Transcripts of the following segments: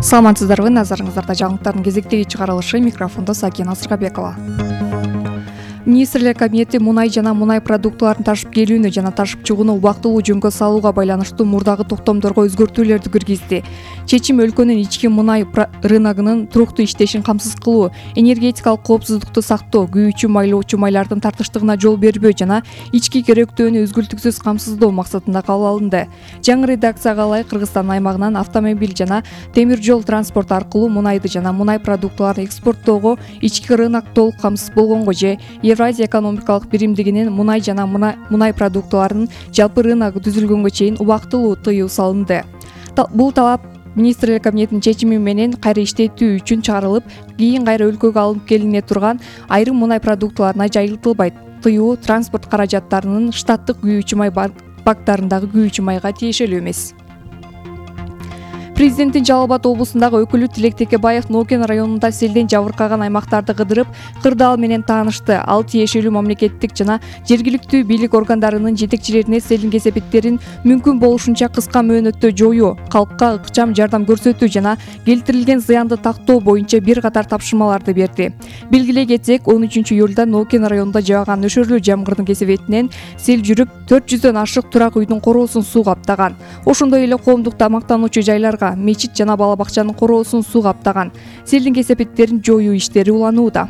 Саламатсыздарбы, назарыңыздарда жаңылыктардын кезектеги чыгарылышы, микрофондо Сакина Сыргабекова. Министрлер кабинети мунай жана мунай продуктыларын ташып келүүнү жана ташып чыгууну убактылуу жөнгө салууга байланыштуу мурдагы токтомдорго өзгөртүүлөрдү киргизди. Чечим өлкөнүн ички мунай рыногунун туруктуу иштешин камсыз кылуу, энергетикалык коопсуздукту сактоо, күйүүчү майлоочу майлардын тартыштыгына жол бербөө жана ички керектөөнү үзгүлтүксүз камсыздоо максатында кабыл алынды. Жаңы редакцияга ылайык Кыргызстан аймагынан автомобиль жана темир жол транспорту аркылуу мунайды жана мунай продуктыларын экспорттоого ички рынок толук камсыз болгонго же Евразия экономикалык биримдигинин мунай жана мунай продуктыларынын жалпы рыногу түзүлгөнгө чейин убактылуу тыюу салынды. Бул талап Министрлер кабинетинин чечими менен кайра иштетүү үчүн чыгарылып, кийин кайра өлкөгө алынып келине турган айрым мунай продуктыларына жайылтылбайт. Тыюу транспорт каражаттарынын штаттык күйүүчү май бактарындагы күйүүчү майга тиешелүү эмес. Президенттин Жалал Абад облусундагы өкүлү Тилек Текебаев Нокен районунда селден жабыркаган аймактарды кыдырып, кырдаал менен таанышты. Ал тиешелүү мамлекеттик жана жергиликтүү бийлик органдарынын жетекчилерине селдин кесепеттерин мүмкүн болушунча кыска мөөнөттө жоюу, калкка ыкчам жардам көрсөтүү жана келтирилген зыянды тактоо боюнча бир катар тапшырмаларды берди. Белгилей кетсек, 13-июлда Нокен районунда жааган нөшөрлүү жамгырдын кесепетинен сел жүрүп, 400дөн ашык турак үйдүн короосун суу каптаган. Ошондой эле коомдук тамактануучу жайларга, мечит жана бала бакчанын короосун суу каптаган. Селдин кесепеттерин жоюу иштери уланууда.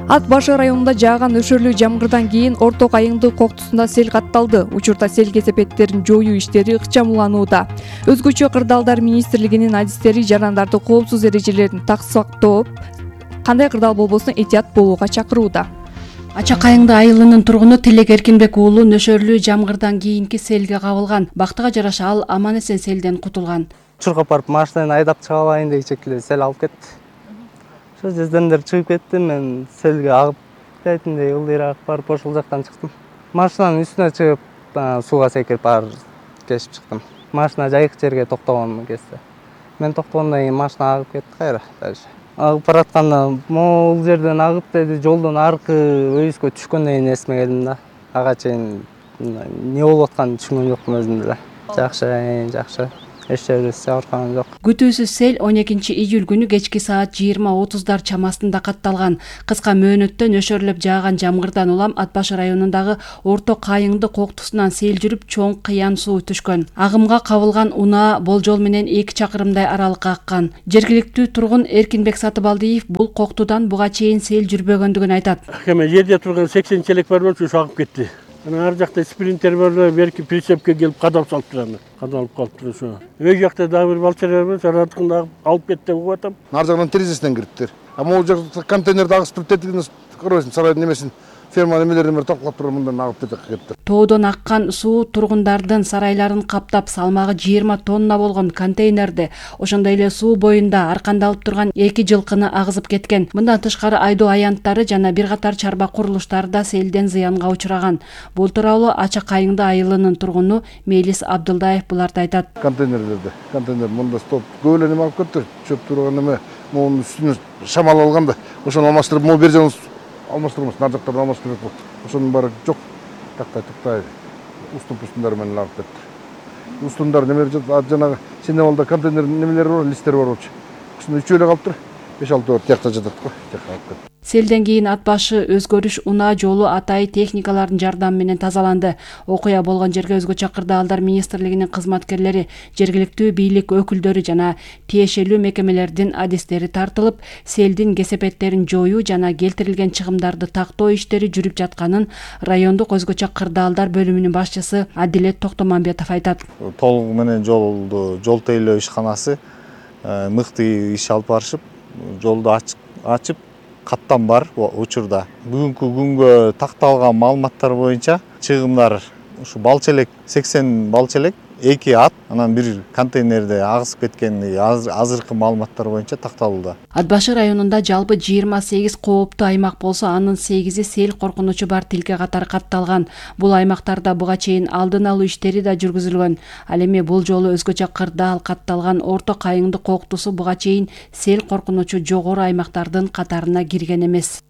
Ат Башы районунда жааган нөшөрлүү жамгырдан кийин Орто Кайыңды коктусунда сел катталды. Учурда сел кесепеттерин жоюу иштери ыкчам уланууда. Өзгөчө кырдаалдар министрлигинин адистери жарандарды коопсуз эрежелерин сактап, кандай кырдаал болбосун этият болууга чакырууда. Ача Кайыңды айылынын тургуну Тилек Эркинбек уулу нөшөрлүү жамгырдан кийинки селге кабылган. Бактыга жараша ал аман эсен селден кутулган. Чуркап барып машинаны айдап чыга алайын дегичекиле сел алып кетти. Ошо жердендер чыгып кетти, мен селге агып кететиндей ылдыйраак барып ошол жактан чыктым. Машинанын үстүнө чыгып сууга секирип баар кешип чыктым. Машина жайык жерге токтогон кезде. Мен токтогондон кийин машина агып кетти кайра дальше. Агып баратканда могул жерден агып деди, жолдон аркы өйүскө түшкөндөн кийин эсиме келдим да. Ага чейин эмне болуп атканын түшүнгөн жокмун өзүм деле. Жакшы. Эч жерде жабыркаган жок. Күтүүсүз сел 12-июль күнү кечки саат 20:30 чамасында катталган. Кыска мөөнөттө нөшөрлөп жааган жамгырдан улам Ат Башы районундагы Орто Кайыңды коктусунан сел жүрүп, чоң кыян суу түшкөн. Агымга кабылган унаа болжол менен 2 чакырымдай аралыкка аккан. Жергиликтүү тургун Эркинбек Сатыбалдиев бул коктудан буга чейин сел жүрбөгөндүгүн айтат. Эме жерде турган 80 челек бар болчу, ошо агып кетти. Ар жакта спринтер бар, берки прицепке келип кадап салып турат. Кадалып калыптыр ошо. Өй жакта дагы бир балчалар бар, саратыкында алып кетти деп угатам. Нар жагынан терезесинен кириптир. Могул жакта контейнерди агыстырып тетигине көрөсүң, сарайдын немесин ферма немелерин бир токтоп туруп мындан агып кетти. Тоодон аккан суу тургундардын сарайларын каптап, салмагы 20 тонна болгон контейнерди, ошондой эле суу боюнда аркандалып турган 2 жылкыны агызып кеткен. Мындан тышкары айдоо аянттары жана бир катар чарба курулуштары да селден зыянга учураган. Бул тууралуу Ача Кайыңды айылынын тургуну Мелис Абдылдаев буларды айтат. Контейнер мында стоп көп эле неме алып кетти. Чөп турган неме, монун үстүнө шамал алганда, ошону алмаштырып, могу бер жагын алмаштырмыз, нар жактарын алмаштырып болду. Ошонун баары жок. Тактай. Устун-пустундар менен агып кетти. Устундар немелер жанагы синемалда контейнер немелери бар, листтер бар болчу. Ушуну 3 эле калыптыр. 5-6 бар тиякта жатат го. Тиякка алып кетти. Селден кийин Ат Башы өзгөрүш унаа жолу атайы техникалардын жардамы менен тазаланды. Окуя болгон жерге өзгөчө кырдаалдар министрлигинин кызматкерлери, жергиликтүү бийлик өкүлдөрү жана тиешелүү мекемелердин адистери тартылып, селдин кесепеттерин жоюу жана келтирилген чыгымдарды тактоо иштери жүрүп жатканын райондук өзгөчө кырдаалдар бөлүмүнүн башчысы Адилет Токтомамбетов айтат. Толугу менен жол тейлөө ишканасы мыкты иш алып барышып, жолду ачып каттам бар учурда. Бүгүнкү күнгө такталган маалыматтар боюнча чыгымдар ушу балчелек 80 балчелек, 2 ат, анан бир контейнерде агысып кеткени азыркы маалыматтар боюнча такталууда. Ат Башы районунда жалпы 28 кооптуу аймак болсо, анын 8-и сел коркунучу бар тилке катары катталган. Бул аймактарда буга чейин алдын алуу иштери да жүргүзүлгөн. Ал эми бул жолу өзгөчө кырдаал катталган Орто Кайыңды коктусу буга чейин сел коркунучу жогору аймактардын катарына кирген эмес.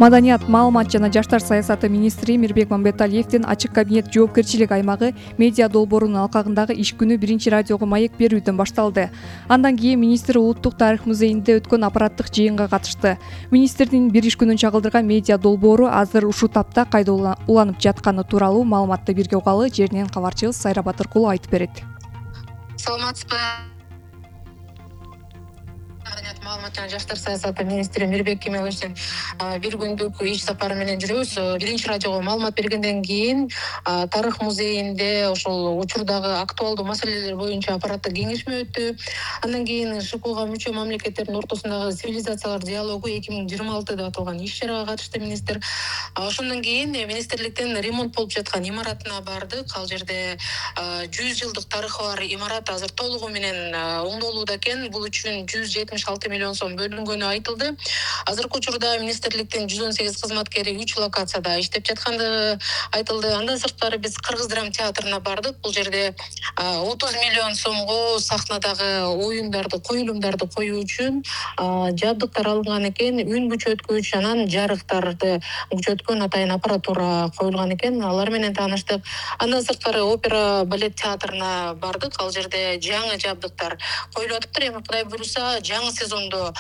Маданият, маалымат жана жаштар саясаты министри Мирбек Мамбеталиевдин ачык кабинет жоопкерчилик аймагы медиа долбоорунун алкагындагы иш күнү биринчи радиого маек берүүдөн башталды. Андан кийин министр Улуттук тарых музейинде өткөн аппараттык жыйынга катышты. Министрдин бир иш күнүн чагылдырган медиа долбоору азыр ушул тапта кайда уланып жатканы тууралуу маалыматты бирге угалы. Жеринен кабарчыбыз Сайра Батыркулу айтып берет. Саламатсызбы? Маалымат жана жаштар саясаты министри Мирбек Кемеловичтин бир күндүк иш сапары менен жүрөбүз. Биринчи радиого маалымат бергенден кийин тарых музейинде ошол учурдагы актуалдуу маселелер боюнча аппараттык кеңешме өттү. Андан кийин ШКОга мүчө мамлекеттердин ортосундагы цивилизациялар диалогу 2026 деп аталган иш чарага катышты министр. Ошондон кийин министрликтин ремонт болуп жаткан имаратына бардык. Ал жерде 100 жылдык тарыхы бар имарат азыр толугу менен оңдолууда экен. Бул үчүн 176 миллион сом бөлүнгөнү айтылды. Азыркы учурда министрликтин 118 кызматкери 3 локацияда иштеп жаткандыгы айтылды. Андан сырткары биз Кыргыз драма театрына бардык. Бул жерде 30 миллион сомго сахнадагы оюндарды, коюлумдарды коюу үчүн жабдыктар алынган экен. Үн күчөткүч, анан жарыктарды күчөткөн атайын аппаратура коюлган экен. Алар менен тааныштык. Андан сырткары опера балет театрына бардык. Ал жерде жаңы жабдыктар коюлуп атыптыр. Эми Кудай буйруса жаңы сезондо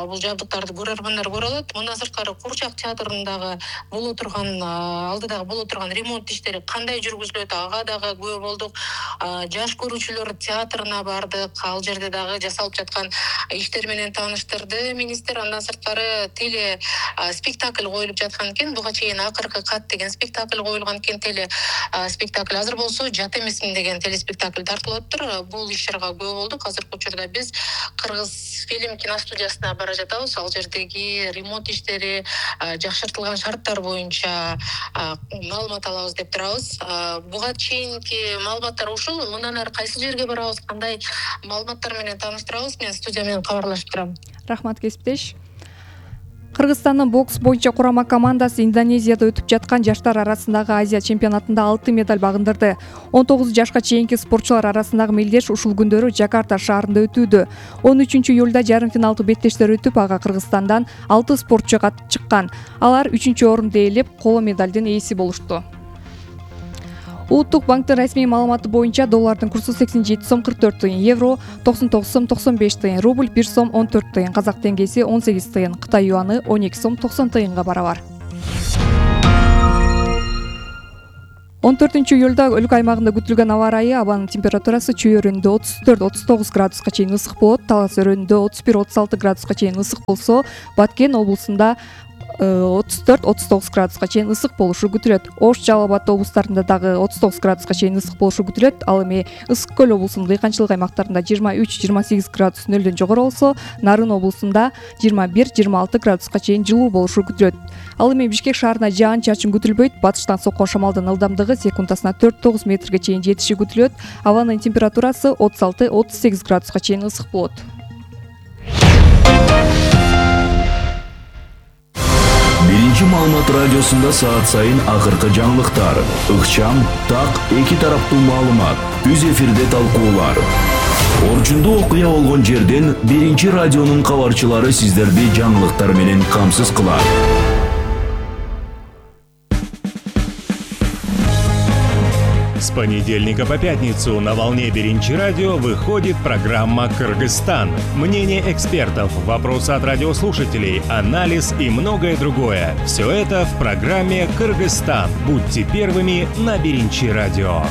бул жабдыктарды көрөрмандар көрө алат. Мындан сырткары Курчак театрындагы боло турган алдыдагы боло турган ремонт иштери кандай жүргүзүлөт, ага дагы күбө болдук. Жаш көрүүчүлөр театрына бардык. Ал жерде дагы жасалып жаткан иштер менен тааныштырды министр. Андан сырткары теле спектакль коюлуп жаткан экен. Буга чейин Акыркы кат деген спектакль коюлган экен. Теле спектакль азыр болсо Жат эмесмин деген телеспектакль тартылып атыптыр. Бул иш чарага күбө болдук. Азыркы учурда биз Кыргыз фильм киностудиясына бара жатабыз. Ал жердеги ремонт иштери, жакшыртылган шарттар боюнча маалымат алабыз деп турабыз. Буга чейинки маалыматтар ушул. Мындан ары кайсы жерге барабыз, кандай маалыматтар менен тааныштырабыз? Мен студия менен кабарлашып турам. Рахмат, кесиптеш. Кыргызстандын бокс боюнча курама командасы Индонезияда өтүп жаткан жаштар арасындагы Азия чемпионатында 6 медаль багындырды. 19 жашка чейинки спортчулар арасындагы мелдеш ушул күндөрү Жакарта шаарында өтүүдө. 13 июлда жарым финалдык беттештер өтүп, ага Кыргызстандан 6 спортчу чыккан. Алар 3-орунду ээлеп, коло медалдын ээси болушту. Улуттук банктын расмий маалыматы боюнча доллардын курсу 87 сом 44 тыйын, евро 99 сом 95 тыйын, рубль 1 сом 14 тыйын, казак теңгеси 18 тыйын, Кытай юаны 12 сом 90 тыйынга барабар. 14 июлда өлкө аймагында күтүлгөн аба ырайы, абанын температурасы чүй өрөөнүндө 34-39 градуска чейин ысык болот, Талас өрөөнүндө 31-36 градуска чейин ысык болсо, Баткен облусунда 34-39 градуска чейин ысык болушу күтүлөт. Ош, Жалал Абад облустарында дагы 39 градуска чейин ысык болушу күтүлөт. Ал эми Ысык көл облусунун дыйканчылык аймактарында 23-28 градус нөлдөн жогору болсо, Нарын облусунда 21-26 градуска чейин жылуу болушу күтүлөт. Ал эми Бишкек шаарына жаан-чачын күтүлбөйт. Батыштан соккон шамалдын ылдамдыгы секундасына 4-9 метрге чейин жетиши күтүлөт. Абанын температурасы 36-38 градуска чейин ысык болот. Биринчи маалымат радиосунда саат сайын акыркы жаңылыктар, ыкчам, так, эки тараптуу маалымат, үз эфирде талкуулар. Орчундуу окуя болгон жерден биринчи радионун кабарчылары сиздерди жаңылыктар менен камсыз кылат. С понедельника по пятницу на волне Биринчи радио выходит программа «Кыргызстан». Мнение экспертов, вопросы от радиослушателей, анализ и многое другое. Все это в программе «Кыргызстан». Будьте первыми на Биринчи радио.